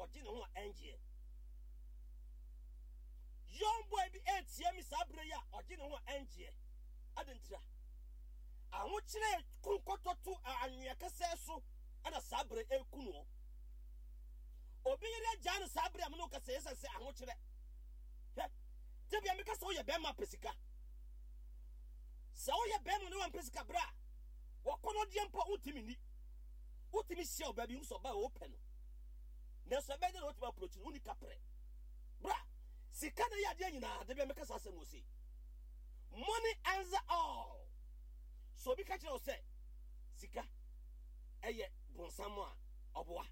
ɔgye ne ho a ɛngyeɛ. Young boy bi ɛretia mi saa berɛ yi a ɔgye ne ho a ɛngyeɛ. Adɛn ntira? Ahokyerɛ ku nkɔtɔto anwea kɛsɛɛ so ɛna saa berɛ ɛreku noɔ. Obi yere agyaa no saa berɛ a me ne wo kasa ɛsiane sɛ ahokyerɛ. Hwɛ, da bia meka sɛ woyɛ bɛrima pɛ sika. Sɛ woyɛ bɛrima na wampɛ sika berɛ a wɔkɔnɔdeɛ mpo wontumi nni. Wotumi hyia ɔbaa bi hu sɛ ɔbaa a wopɛ no. Nanso ɛbɛyɛ dɛ na wotumi approach no, wonni kaprɛ. Bra, sika na ɛyɛ adeɛ nyinaa, da bia meka saa asɛm wɔ sei. Money answer all. So obi ka kyerɛ wo sɛ sika ɛyɛ bronsam a, ɔboa.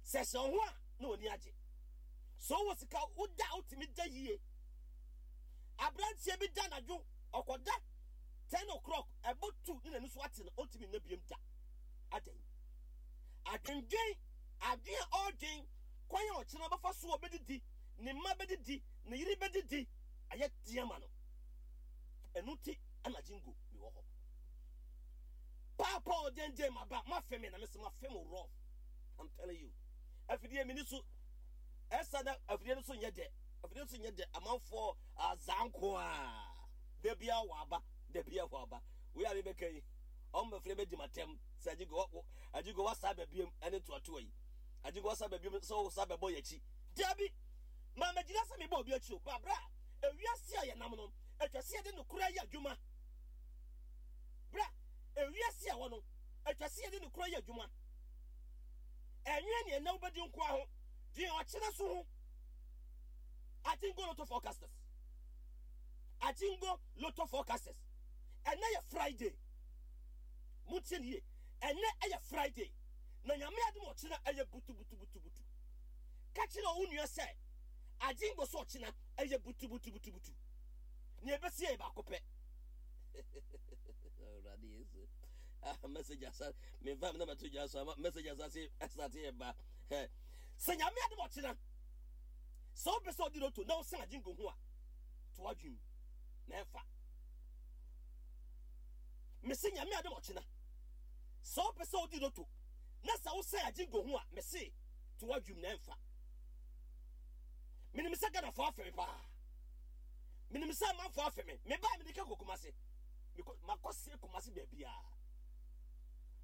Sɛ hyɛ wo ho a na w'ani agye. Sɛ wowɔ sika woda a wotumi da yie. Aberanteɛ bi da anadwo ɔkɔda 10 o'clock ɛbɔ tu ne n'ani so ate no ɔntumi nna biem da. Adɛn? Adwendwen, adwen a ɔredwen kwan a ɔkyena bɛfa so ɔbɛdidi, ne mma bɛdidi, ne yere bɛdidi, ayɛ den ama no. Ɛno nti ɛna jingo mewɔ hɔ. Paapa ɔgyengyen maba mafe me na mese mafe mo rough. I'm telling you. Afidie mini so ɛsa na afidie no so nyɛ dɛ. Afidie no so nyɛ dɛ amanfoɔ azaa nko a. Da bia wɔ aba, da bia wɔ aba. Wei a mebɛka yi, ɔmo bɛfrɛ bɛdi m'atɛm sɛ ajigo ajigo wasa aba biam ɛne toatoa yi. Ajigo wasa aba biam sɛ wosa bɛbɔ yɛn akyi. Dabi, ma mɛgyina sɛ mebɔ obi akyi o. Ba bra, ewiase a yɛnam no, atwa sɛ yɛde nokorɛ yɛ adwuma. Bra, ewiase a ɛwɔ no, atwa sɛ yɛde nokorɛ yɛ adwuma. Ɛnwene nea ɛnɛ wobɛdi nkoa ho, dwen ɔkyena so ho. Atingo Lotto Forecasters. Atingo Lotto Forecasters. Ɛnɛ yɛ Friday. Montie ne yie. Ɛnɛ ɛyɛ Friday. Na Nyame adom ɔkyena ɛyɛ butubutubutubutu. Ka kyerɛ wo nua sɛ Agingo so ɔkyena ɛyɛ butubutubutubutu. Nea ɛbɛsi yɛ baako pɛ. Awurade Yesu. Ah, message asa memfa me na mato dwa so ama message asa se asate yɛ ba. Sɛ Nyame adom ɔkyena sɛ wopɛ sɛ ɔdi loto na wosan Agingo ho a to adwene na ɛmfa. Mese Nyame adom ɔkyena sɛ wopɛ sɛ wodi loto na sɛ wosɛe agyengo ho a mese to w'adwum na ɛmfa. Menim sɛ Ghanafoɔ afe me paa. Menim sɛ amanfoɔ afe me. Mebaa mede ka kɔ Kumase. Makɔ sɛ Kumase baabiara.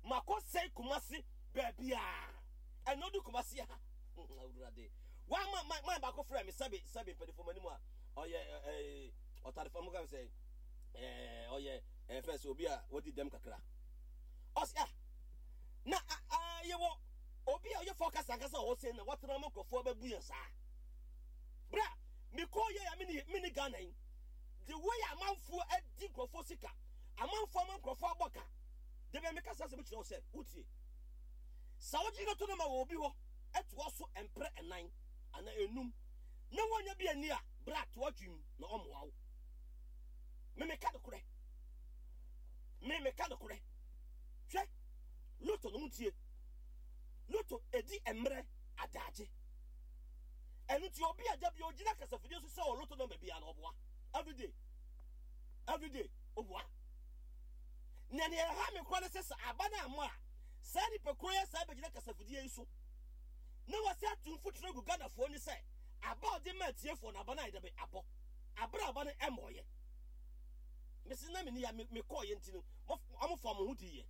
Makɔ sɛ Kumase baabiara. Ɛna ɔdu Kumase ha. Awurade. Wa ma ma ma baako frɛ me sɛbe sɛbe mpanimfoɔ m'anim a ɔyɛ ɛɛ ɔtarefo mo ka sɛ ɛɛ ɔyɛ ɛɛ fɛn sɛ obi a wadi dɛm kakra. Ɔsi ah na ah yɛwɔ obi a ɔyɛ focus ankasa wɔ hɔ sɛ na watena ma nkurɔfoɔ bɛbu yɛn saa. Bra mekɔɔ yɛ a mene mene Ghana yi the way amanfoɔ adi nkurɔfoɔ sika amanfoɔ ama nkurɔfoɔ abɔ ka de bɛn meka saa sɛ mekyerɛ wo sɛ wotie sɛ wogye no to no ma wɔ obi hɔ ɛtoa so mprɛ ɛnan anaa enum na woanya bi ani a bra toa dwem na ɔmmoa wo. Me meka nokorɛ. Me meka nokorɛ. Hwɛ, loto no montie. Loto ɛdi mmerɛ adagye. Ɛno nti obi a da bi ogyina kasafidie so sɛ ɔ loto nɔmba biara no ɔboa. Everyday. Everyday ɔboa. Na nea ɛha me koraa ne sɛ sɛ aba no amma a saa nipa koro yɛ saa bɛgyina kasafidie yi so na wɔsɛ ato mfuturo agu Ghanafoɔ ni sɛ aba a ɔde ma atiefoɔ no aba no ayɛ dɛ abɔ. Abere a aba no ɛmmɔɔyɛ. Mese na menni ya mekɔɔyɛ nti no ɔmo fa ɔmo ho diiɛ.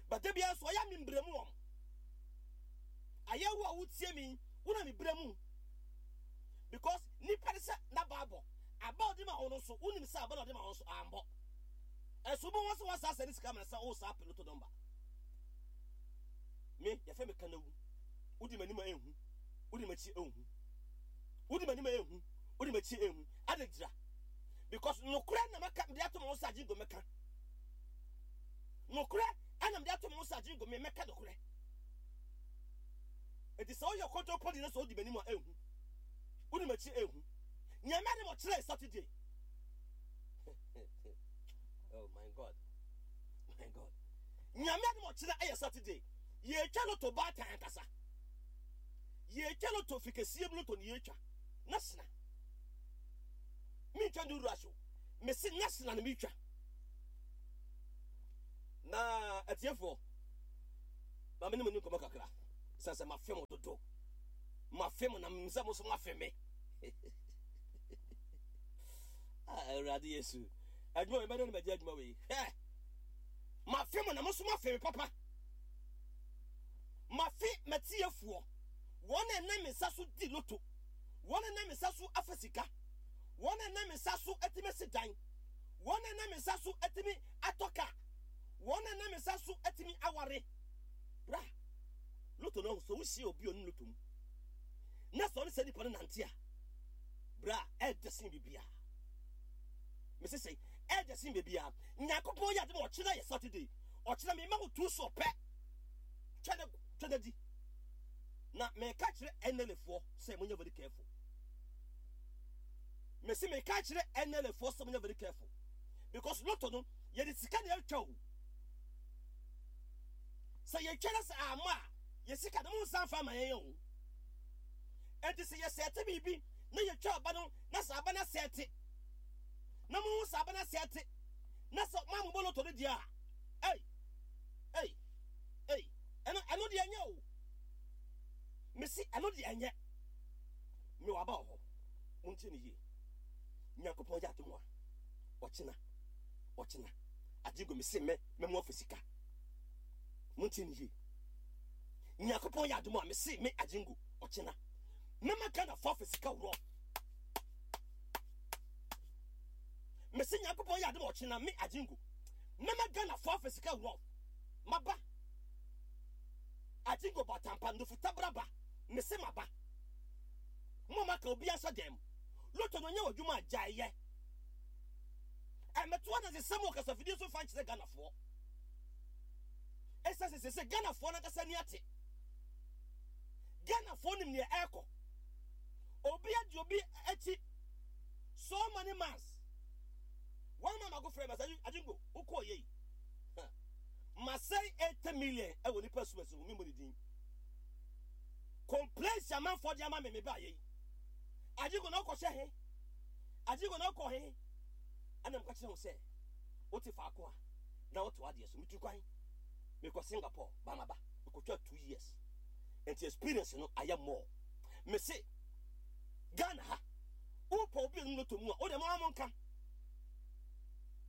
But da biara nso ɔyɛ me mbrɛ mu wɔn. Ayɛ wo a wotie me wo na mebrɛ mu. Because nipa ne sɛ n'aba abɔ. Aba ɔde ma wo no nso wonim sɛ aba na ɔde ma wo nso ambɔ. Ɛso wobɛhu sɛ wɔasa asɛ ne sika ma sɛ wo saa peloto nɔmba. Me yɛfrɛ me Kanawu. Wodi m'anim a ɛnhu. Wodi m'akyi ɛnhu. Wodi m'anim a ɛnhu. Wodi m'akyi ɛnhu. Adɛn ntira? Because nokorɛ na maka mede ato mo ho sɛ agye mɛka. Nokorɛ ɛna mede ato mo ho sɛ agye me mɛka nokorɛ. Enti sɛ woyɛ kɔntɔnpɔni na sɛ wodi m'anim a ɛnhu. Wodi m'akyi ɛnhu. Nea mɛde mo kyerɛ Saturday. Oh my God. My God. Nea mɛde mo kyerɛ ɛyɛ Saturday. Yɛtwa loto baatan ankasa. Yɛtwa loto fikɛsie mu loto ne yɛtwa. Na sena. Mentwa ne wura so. Mese na sena na metwa. Na atiefoɔ, ma me ne mo ni nkɔmmɔ kakra. Sɛ sɛ mafe mo dodo. Mafe mo na menim sɛ mo nso moafe me. Ah, Awurade Yesu. Adwuma wei bɛdɛ na magye adwuma wei. Hwɛ! Mafe mo na mo nso moafe me papa. Mafe m'atiefoɔ. Wɔn a ɛnam me nsa so di loto. Wɔn a ɛnam me nsa so afa sika. Wɔn a ɛnam me nsa so atumi asi dan. Wɔn a ɛnam me nsa so atumi atɔ kaa. Wɔn a ɛnam me nsa so atumi aware. Bra, loto no, sɛ wohyia obi a ɔnim loto mu na sɛ ɔne saa nipa no nante a, bra, ɛɛdɛ sen biribiara. Mese sɛ ɛɛdɛ sen biribiara. Nyankopɔn yɛ ade ma ɔkyena yɛ Saturday. Ɔkyena mema wo tu so pɛ. Twɛ na twɛ na di. Na meka kyerɛ NLA foɔ sɛ monyɛ very careful. Mese meka kyerɛ NLA foɔ sɛ monyɛ very careful. Because loto no, yɛde sika na ɛtwa o. Sɛ yɛtwa na sɛ amma a, yɛ sika no monsan mfa mma yɛn o. Enti sɛ yɛsɛɛte biribi na yɛtwa aba no na sɛ aba no asɛɛte na mohu sɛ aba no asɛɛte na sɛ moammobɔ lotto no deɛ a, ei, ei, ei, ɛno, ɛno deɛ ɛnyɛ o. Mese ɛno deɛ ɛnyɛ. Mewɔ aba wɔ hɔ. Montie no yie. Nyankopɔn yɛ adom a, ɔkyena, ɔkyena, agye gu mese mɛ, mɛmo afa sika. Montie no yie. Nyankopɔn yɛ adom a mese me agyengo ɔkyena mɛma Ghanafoɔ afa sika worɔ. Mese Nyankopɔn yɛ adom a ɔkyena me agyengo mɛma Ghanafoɔ afa sika worɔ. Maba agyengo batampa ndofutabra mese maba. Mo maka obi ahyɛ dɛm. Loto no nyɛ w'adwuma a gyae yɛ. Ɛmɛto adansesɛm wɔ kasafidie so fa nkyerɛ Ghanafoɔ. Ɛsiane sɛ sɛ Ghanafoɔ no ankasa ani ate. Ghanafoɔ nim nea ɛrekɔ. Obi adi obi akyi so many months. One man mako frɛ masa adwingo wokɔɔ yei. Masɛe 80 million ɛwɔ nipa sumasi ho memmɔ ne din. Complaints amanfoɔ de ama me me ba yei. Adwingo na ɔkɔhyɛ he. Adwingo na ɔkɔ he. Ɛna mka kyerɛ ho sɛ wote faako a na wote w'adeɛ so. Metu kwan mekɔ Singapore ba maba mekɔtwa 2 years nti experience no ayɛ more. Mese Ghana ha wopɛ obi a ɔnim lotto mu a wode mo ara monka.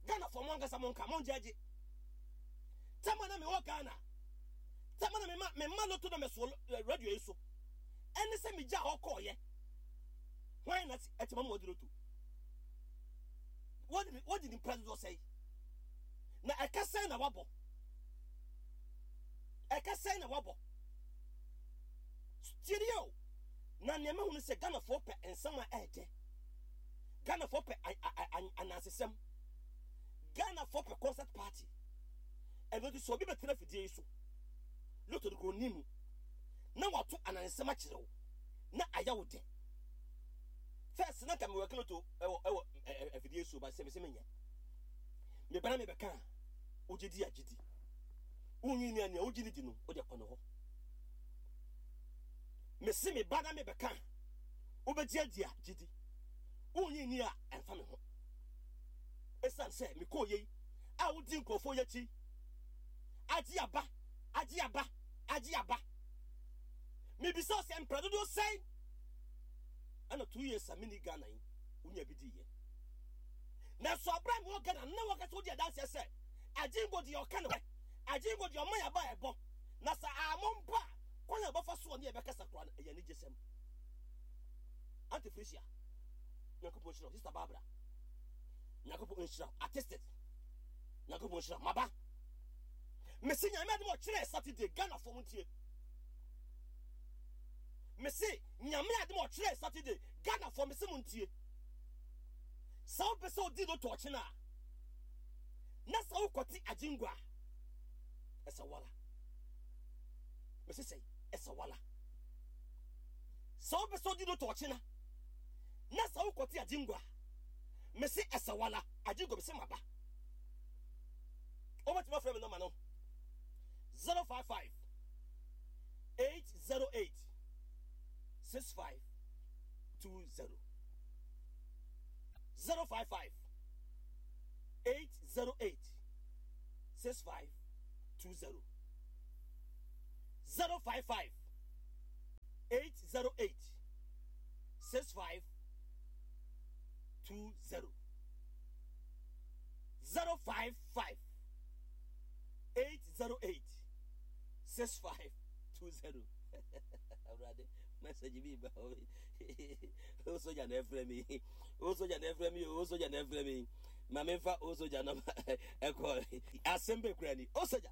Ghanafoɔ mo ankasa monka mongyɛgye. Tɛma na mewɔ Ghana tɛma na mema mema lotto na mɛsoɔ radio yi so ɛne sɛ megya hɔ kɔɔyɛ hwan na ɛtɛma mu wɔde lotto wɔde nipa dodoɔ sɛe na ɛka sɛn na wabɔ ɛka sɛn na wabɔ tiɛdeɛ o na nneɛma hunu sɛ Ghanafoɔ pɛ nsɛm a ɛɛdɛ. Ghanafoɔ pɛ anansesɛm. Ghanafoɔ pɛ concert party. Ɛno nti sɛ obi bɛtena afidie yi so loto no kuro mu na wato anansesɛm akyerɛ wo na ayɛ wo dɛ. First na nka mewɔ loto ɛwɔ ɛwɔ afidie so ba sɛ mesɛ menyɛ mebɛna mebɛka a wogye di a gye di wonyi ni a nea wogye ne di no wode kɔ ne hɔ. Mese me ba na mebɛka a wobɛgye adi a gye di wonyi ni a ɛmfa me ho. Ɛsiane sɛ mekɔɔ yei a wodi nkurɔfoɔ yi akyi agye aba agye aba agye aba mebisa wo sɛ mpra dodoɔ sɛn ɛna 2 years a menni Ghana yi wonya bi diiɛ nanso aberɛ a mewɔ Ghana na wɔka sɛ wodi adanseɛ sɛ agyengo deɛ ɔka ne hɔ agyengo deɛ ɔma yɛaba ɛbɔ na sɛ ammɔ mpo a kwan a wɔbɛfa soɔ ne yɛbɛkasa koraa no ɛyɛ anigyesɛm. Auntie Felicia, Nyankopɔn nhyira wo. Sister Barbara, Nyankopɔn nhyira wo. Artistic, Nyankopɔn nhyira wo. Maba. Mese Nyame adom ɔkyerɛ Saturday Ghana fo ntie. Mese Nyame adom ɔkyerɛ Saturday Ghana fo mese mo ntie. Sɛ wopɛ sɛ odi loto ɔkyena a na sɛ wokɔte agyengua a ɛsɛ wala. Mese sɛ ɛsɛ wala. Sɛ wopɛ sɛ odi loto ɔkyena na sɛ wokɔte agyengua a mese ɛsɛ wala. Agyengua mese maba. Wobɛtumi afrɛ me nɔma no 055 808 6520 055 808 6520 055 20 055 808 6520. Awurade, message bi ba o. Soja na ɛfrɛ mi o, soja na ɛfrɛ mi o, soja na ɛfrɛ mi. Ma memfa o soja nɔma ɛkɔ asɛm bɛ kura ni o soja.